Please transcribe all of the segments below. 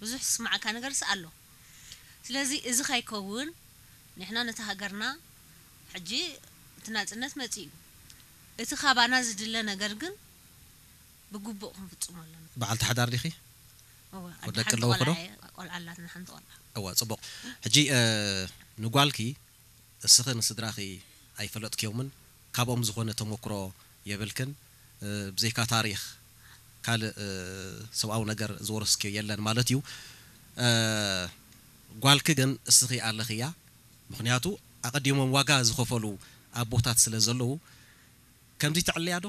ብዙሕ ዝስማዓካ ነገርስ ኣሎ። ስለዚ እዚ ከይከውን ንሕና ነቲ ሃገርና ሕጂ እቲ ናጽነት መጺኡ እዩ። እቲ ካባና ዝድለ ነገር ግን ብግቡእ ክንፍጽሞ ኣለና። በዓልቲ ሓዳር ዲኺ? እወ፣ ወዲ ኣደ ሓንቲ ኣለዎ ዶ? ቆልዓ እየ፣ ቆልዓ ኣላትና፣ ሓንቲ ቆልዓ። እወ፣ ጽቡቕ። ሕጂ፣ እ፣ ንጓልኪ እስኺ ንስድራኺ ኣይፈለጥክዮምን፣ ካብኦም ዝኾነ ተመክሮ የብልክን፣ እ፣ ብዘይካ ታሪኽ ካልእ፣ እ፣ ሰብኣዊ ነገር ዝወረስክዮ የለን ማለት እዩ። እ፣ ጓልኪ ግን እስኺ ኣለኽያ፣ ምኽንያቱ ኣቐዲሞም ዋጋ ዝኸፈሉ ኣቦታት ስለ ዘለዉ፣ ከምዚ ተዕልያ ዶ?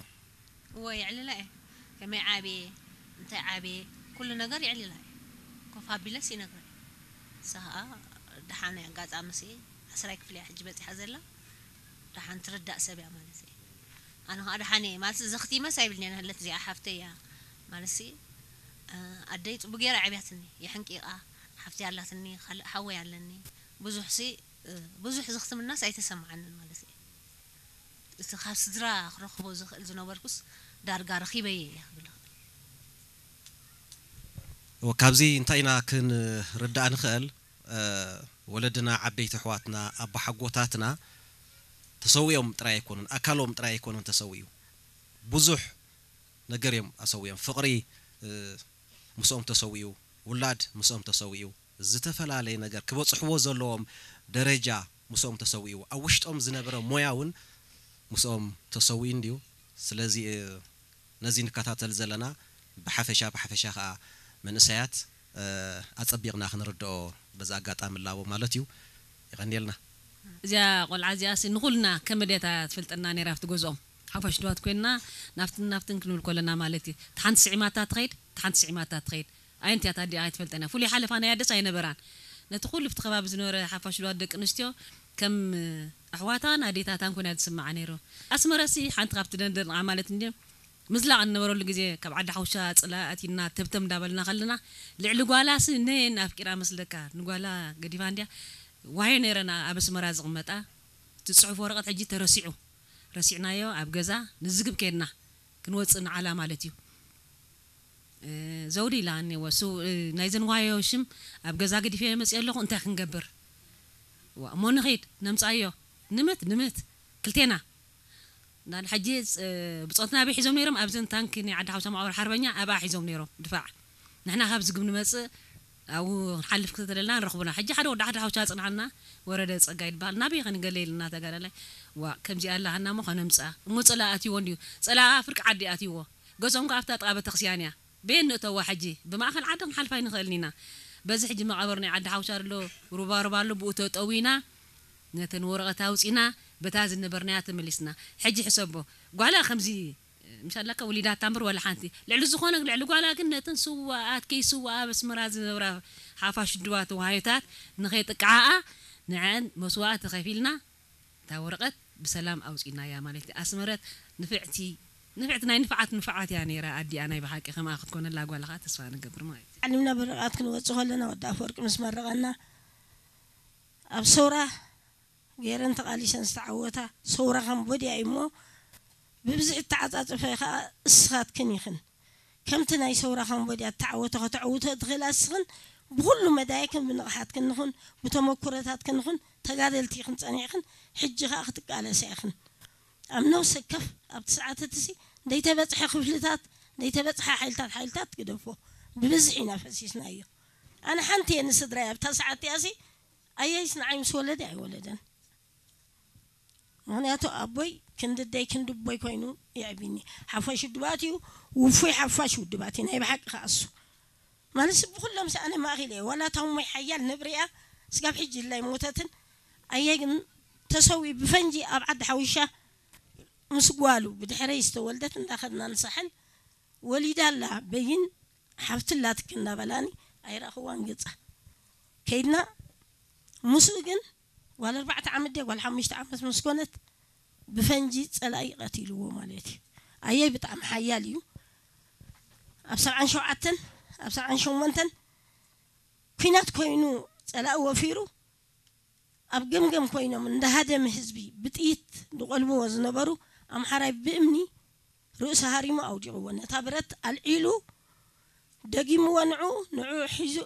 እወ፣ የዕልላ እየ። ከመይ ዓብየ፣ እንታይ ዓብየ፣ ኩሉ ነገር የዕልላ እየ። ኮፍ ኣቢለስ ይነግረን። ንሳ ኸኣ ደሓን ኣጋጣሚ ሲ ዓስራይ ክፍሊ እያ ሕጂ በጺሓ ዘላ። ደሓን ትርዳእ ሰብ እያ ማለት እየ። ኣነ ኸኣ ደሓን እየ ማለት ዘኽቲመስ ኣይብልን'የ፣ ነህለት እዚኣ ሓፍተይ እያ ማለት ሲ፣ እ፣ ኣደይ ጽቡቅ ገይራ ኣዕብያትኒ፣ የሕንቂቓ፣ ሓፍተይ ኣላትኒ፣ ካልእ ሓወይ ኣለኒ። ብዙሕ ሲ፣ እ፣ ብዙሕ ዘኽትምናስ ኣይተሰምዓንን ማለት እየ። እቲ ካብ ስድራ ክረኽቦ ዝኽእል ዝነበርኩስ ዳርጋ ረኺበዮ እየ ክብል እኽእል። እወ፣ ካብዚ እንታይ ኢና ክንርዳእ ንኽእል? እ፣ ወለድና፣ ዓበይቲ ኣሕዋትና፣ ኣቦሓጎታትና ተሰዊኦም ጥራይ ኣይኮኑን፣ ኣካሎም ጥራይ ኣይኮኑን ተሰዊኡ። ብዙሕ ነገር እዮም ኣሰዊኦም። ፍቕሪ፣ እ፣ ምስኦም ተሰዊኡ፣ ውላድ ምስኦም ተሰዊኡ፣ ዝተፈላለየ ነገር ክበጽሕዎ ዘለዎም ደረጃ ምስኦም ተሰዊኡ፣ ኣብ ውሽጦም ዝነበረ ሞያ እውን ምስኦም ተሰዊኡ እንድዩ። ስለዚ፣ እ፣ ነዚ ንከታተል ዘለና ብሓፈሻ፣ ብሓፈሻ ኸኣ መንእሰያት፣ እ፣ ኣጸቢቕና ክንርድኦ በዚ ኣጋጣሚ እላቦ ማለት እዩ። የቐንየልና። እዚኣ ቆልዓ እዚኣሲ ንኹልና ከም ኣዴታ ትፈልጠና ነይራ ኣብቲ ገዝኦም። ሓፋሽ ድዋት ኮይንና ናብትን ናብትን ክንብል ከለና ማለት እዩ። እታ ሓንቲ ስዒማታ ትኸይድ፣ እታ ሓንቲ ስዒማታ ትኸይድ። ኣየንቲ እያ እታ ኣዲኣ ኣይትፈልጠን እያ። ፍሉይ ሓለፋ ናይ ኣደስ ኣይነበራን። ነቲ ኩሉ ኣብቲ ከባቢ ዝነበረ ሓፋሽ ድዋት ደቂ ኣንስትዮ ከም ኣሕዋታን ኣዴታታን ኮይና ዝስምዓ ነይሩ። ኣስመረሲ ሓንቲ ካብቲ ደንደንኣ ማለት እንድዩ። ምዝላቕ እንነበረሉ ግዜ ካብ ዓዲ ሓውሻ ጽላኢ ኣቲና ተብተብ እንዳበልና ከለና ልዕሊ ጓላሲ ነየን ኣፍቂራ መስለካ ንጓላ ገዲፋ እንድያ። ዋዮ ነይረን ኣብ ኣስመራ ዝቕመጣ። እቲ ጽሑፍ ወረቐት ሕጂ ተረሲዑ። ረሲዕናዮ ኣብ ገዛ ንዝግብ ከድና ክንወጽእ ንዓላ ማለት እዩ። እ፣ ዘውዲ ኢላ እኔዎ፣ ሱ-፣ እ፣ ናይዘን ዋዮ ሽም ኣብ ገዛ ገዲፈዮ መጽእ ኣለኹ፣ እንታይ ክንገብር? ዋ፣ እሞ ንኺድ፣ ነምጽኣዮ። ንምት፣ ንምት፣ ክልቴና። እንዳን ሕጂ፣ እ፣ ብጾትና ኣበይ ሒዞም ነይሮም? ኣብዘን ታንኪ ናይ ዓዲ ሓውሳ መቓብር ሓርበኛ ኣብኣ ሒዞም ነይሮም፣ ድፋዕ። ንሕና ካብ ዝግብ ንመጽእ፣ ኣብኡ ክንሓልፍ ክተደልና ንረኽቡና። ሕጂ ሓደ ወዲ ዓዲ ሓውሳ ጽንዓና፣ ወረደ ጸጋይ ይበሃል። ናበይ ኸንገለ ኢልና ተጋዳላይ። ዋ፣ ከምዚኣ ኣላሃና እሞ ኸነምጽኣ። እሞ ጸላኢ ኣትይዎ እንድዩ። ጸላኣ ፍርቂ ዓዲ ኣትይዎ። ገዝኦም ከኣ ኣብታ ጥቓ ቤተክርስትያን እያ። በየን ንእተዋ ሕጂ? ብማእኸል ዓዲ ክንሓልፍ ኣይንኽእልን ኢና። በዚ ሕጂ መቓብር ናይ ዓዲ ሓውሻ ኣሎ፣ ሩባሩባ ኣሎ፣ ብኡ ተጠዊና፣ ነተን ወረቐት ኣውጺና፣ በታ ዝነበርናያ ተመሊስና። ሕጂ ሕሰቦ፣ ጓላ ከምዚ፣ ምሻላካ ወሊዳታ እምበር ዋላ ሓንቲ። ልዕሊ ዝኾነ፣ ልዕሊ ጓላ ግን ነተን ስዋኣት፣ ከይስዋኣ ኣብ ኣስመራ ዝነብራ ሓፋሽ ድዋ ተዋሃዮታት ንኸይጥቅዓኣ፣ ንዐን መስዋእቲ ከፊልና፣ እታ ወረቐት ብሰላም ኣውጺእናያ ማለት እዩ። ኣስመረት ንፍዕቲ፣ ንፍዕቲ ናይ ንፍዓት ንፍዓት እያ ነይራ ኣዲኣ ናይ ብሓቂ፣ ከምኣ ክትኮነላ ጓልኻ ተስፋ ንገብር ማለት እዩ። ዓሊምና ብርቓት ክንወጽእ ከለና ወዲ ኣፈወርቂ ምስ መረቐና ኣብ ሰውራ ገይረን ተቓሊሰን ዝተዓወታ ሰውራ ካምቦድያ እዩ እሞ ብብዝሒ እተዓጻጸፈ ኸኣ እስኻትክን ኢኽን። ከምቲ ናይ ሰውራ ካምቦድያ እተዓወተ ከተዕውቶ ትኽእላ እስኽን ብኹሉ መዳይክን ብንቕሓትክን ንኹን ብተመኩሮታትክን ንኹን ተጋደልቲ ኢኽን ጸኒዕክን ሕጂ ኸኣ ክትቃለሳ ኢኽን። ኣብ ነፍሲ ወከፍ ኣብቲ ሰዓት እቲ ሲ ዘይተበጽሐ ክፍልታት ዘይተበጽሐ ሓይልታት ሓይልታት ግደፎ ብብዝሒ ኢና ፈሲስናዮ። ኣነ ሓንቲ እየ ንስድራይ ኣብታ ሰዓት እቲኣ ሲ ኣያይስ ንዓይ ምስ ወለደ ኣይወለደን። ምኽንያቱ ኣቦይ ክንዲ ኣደይ ክንዲ ኣቦይ ኮይኑ የዕቢኒ። ሓፋሽ ውድባት እዩ፣ ውፉይ ሓፋሽ ውድባት እዩ ናይ ብሓቂ ከኣ እሱ። ማለት ብኹሎም ኣነ ማእኺል እየ። ዋላ እታ እሞይ ሓያል ነብሪ እያ፣ ስጋብ ሕጂ ኢላ ኣይሞተትን። ኣየ ግን ተሰዊኡ ብፈንጂ ኣብ ዓዲ ሓውሻ ምስ ጓሉ ብድሕረይ ዝተወልደት እንዳኸድና ንሳሕል ወሊዳ ኣላ በይን ሓፍቲ ኣላትኪ እንዳበላኒ ኣይረኣኽዋን ገጻ። ከይድና ምስኡ ግን ጓል ኣርባዕተ ዓመት ድያ ጓል ሓሙሽተ ዓመት ምስ ኮነት ብፈንጂ ጸላኢ ቀቲልዎ ማለት እዩ። ኣየይ ብጣዕሚ ሓያል እዩ። ኣብ ሰብዓን ሸውዓተን ኣብ ሰብዓን ሸሞንተን ኲናት ኮይኑ ጸላኢ ወፊሩ ኣብ ገምገም ኮይኖም እንዳሃደመ ህዝቢ ብጥይት ዝቖልብዎ ዝነበሩ ኣምሓራይ ብእምኒ ርእሱ ሃሪሙ ኣውዲቕዎ። ነታ ብረት ኣልዒሉ ደጊምዋ ንዑ ንዑ ሒዙ